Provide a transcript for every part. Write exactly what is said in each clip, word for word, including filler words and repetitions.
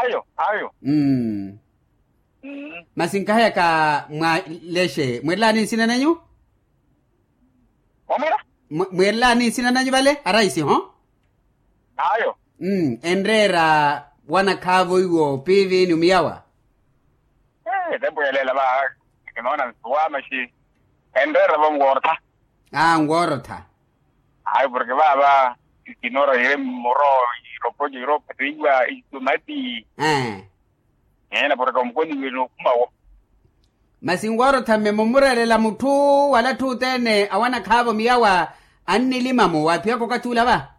Ayo ayo. Mm. Masi nkaheyaka mwa lexe mwiirelaani nsina nanyu? Mwamwira. Mwiirelaani nsina nanyu vale araisi ho? Ayo. Enreera wanakhaavo iwo piivi ni omiyawa. Etempo yaleela va kinoona nsuwa maxi enreera va nwoorotha. Aa nwoorotha. Ayo porke vaava ikinoora yire mmoro, iropoco iroophateiwa itumati. Eena porke omukoniwe nookumawo. Masi nwoorotha mme mumureerela mutthu wala atthu othene awanakhaavo miyawa annilima-mo waaphiyaka okathi ula va.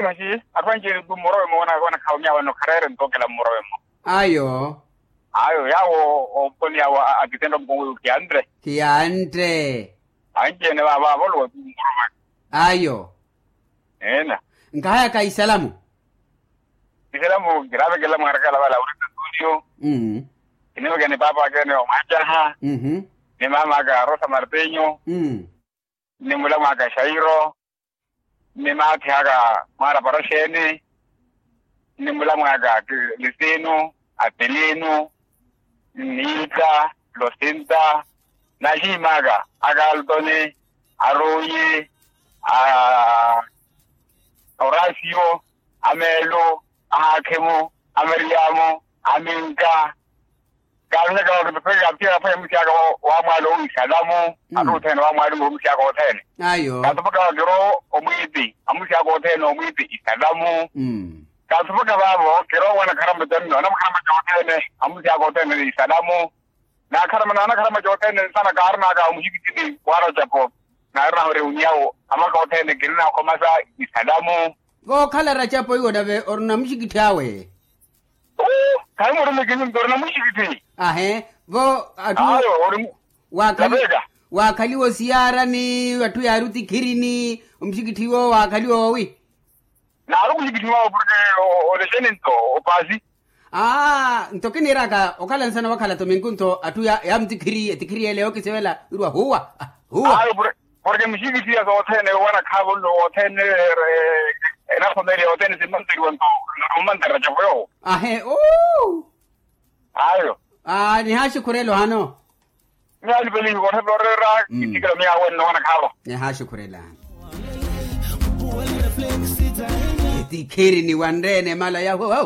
Masi atthu anci-ene tu mmorowe-mo wanakhaavo miyawa nno khareere ntookela mmorowe-mo. Ayo. Ayo yaawo omukoni yaawo akitenda omukoni oyo khiyantte. Khiyantte. Anci-ene vaava avolowa tu mmorowe. Ayo. Eena. Nkahayaka isalamu. Isalamu kiraavekelela mwaarakaala vale aurita studio. Kinivekeni paapa aka ene omwacaha. Ni maama aka rosa martenyo. Ni mulamu aka shairo. Ni maatthi aka mwaara paraxeeni. Ni mulamu aka lisinu, apelinu, niita, losinta, na axiimaka a kaltoni, a ruyi, a orasio, a meelo, a haakhimo, a mariyamo, a minka. Kaarunaka vakipepeke kaapitiyaka aphwanya musi aka wa mwaalo owi salamu. Atthu othene wa mwaalo owi musi aka othene. Ayo. Kaatupaka vakiro omwiipi a musi aka othene omwiipi isalamu. Kaatupaka vaavo kiro owana kharamaca nno anamukharamaca othene a musi aka othene isalamu. Naakharama naanakharama cothene nsana kaarinaka omuxikittini wa racapo. Naarinaho reuniyawo amaka othene kirinaakhomasa isalamu. Kookhala racapo iwo nave orina muxikitthi awe. Khayi murumikini nto orina muxikitthi. Ahe vo atthu. Waakhaliwa osiyaarani atthu yaari otikhirini omuxikitthi iwo waakhaliwa owi? Naari omuxikitthi wawe porke olexeni nto opaasi. Aa nto kiniiraka okhala nsana wakhala tominku nto atthu yaamutikhiryele yookisivela wirwa huwa. Huwa. Porke muxikitthi ya sothene wanakhaavo nno wothene enakhomeeriya yothene simmanteriwa nto. Ommanterya capo yoowo. Ahe uu. Ayo. Nihaaxukhurela ohano. Miyo alipelihi koothela oreera. Kisikela miyo awenno wanakhaavo. Nihaaxukhurela. Etikhirini wanreene mala yahuwa.